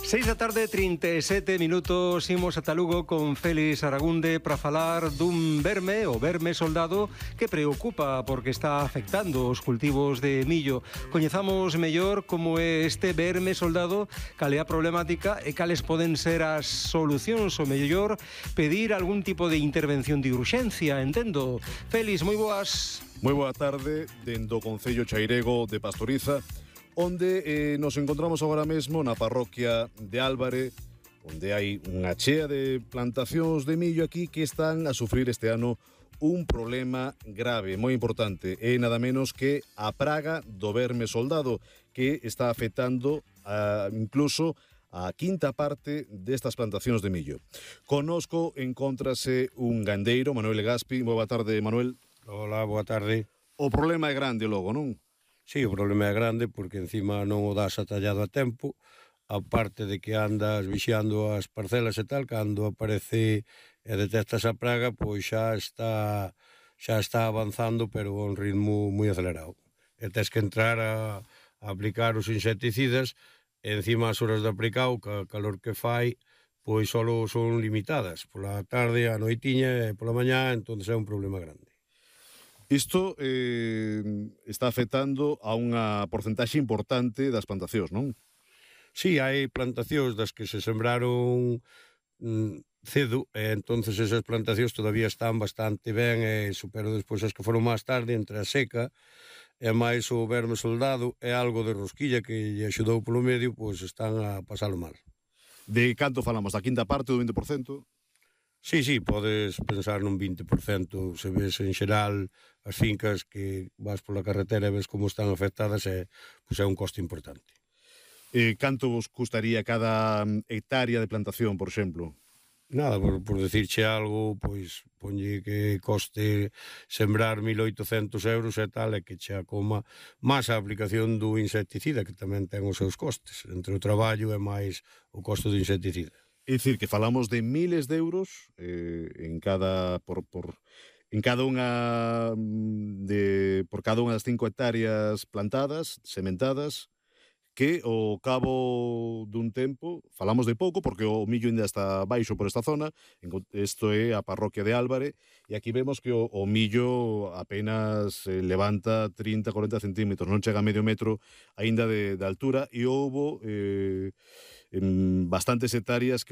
6:37, imos ata Lugo con Félix Aragunde para falar dun verme, o verme soldado, que preocupa porque está afectando os cultivos de millo. Coñezamos mellor como é este verme soldado, cal é a problemática e cales poden ser as solucións, o mellor pedir algún tipo de intervención de urxencia, entendo. Félix, moi boas. Moi boa tarde, dendo o Concello Chairego de Pastoriza, onde nos encontramos agora mesmo na parroquia de Álvare, onde hai unha chea de plantacións de millo aquí que están a sufrir este ano un problema grave, moi importante, e nada menos que a praga do verme soldado, que está afectando incluso a quinta parte destas plantacións de millo. Conosco encóntrase un gandeiro, Manuel Gaspi. Boa tarde, Manuel. Hola, boa tarde. O problema é grande logo, non? Sí, o problema é grande porque encima non o das atallado a tempo, aparte de que andas vixiando as parcelas e tal, cando aparece e detectas a praga, pois xa está avanzando, pero a un ritmo moi acelerado. E tens que entrar a aplicar os insecticidas, e encima as horas de aplicar, o calor que fai, pois só son limitadas. Pola tarde, a noitiña e pola mañá, entón é un problema grande. Isto está afectando a unha porcentaxe importante das plantacións, non? Sí, hai plantacións das que se sembraron cedo, e entonces esas plantacións todavía están bastante ben, pero despois as que foron máis tarde, entre a seca e máis o verme soldado e algo de rosquilla que lle axudou polo medio, pois están a pasalo mal. De canto falamos? Da quinta parte, do 20%? Sí, podes pensar nun 20%, se ves en xeral as fincas que vas pola carretera e ves como están afectadas, pois é un coste importante. Canto vos custaría cada hectárea de plantación, por exemplo? Nada, por decirche algo, pois ponlle que coste sembrar 1.800 euros e tal, e que che acoma máis a aplicación do insecticida, que tamén ten os seus costes, entre o traballo e máis o costo do insecticida. É dicir, que falamos de miles de euros por cada unha das 5 hectáreas plantadas, sementadas, que ao cabo dun tempo, falamos de pouco, porque o millo ainda está baixo por esta zona, isto é a parroquia de Álvare, e aquí vemos que o millo apenas levanta 30-40 centímetros, non chega a medio metro aínda de altura, e houbo bastantes hectáreas que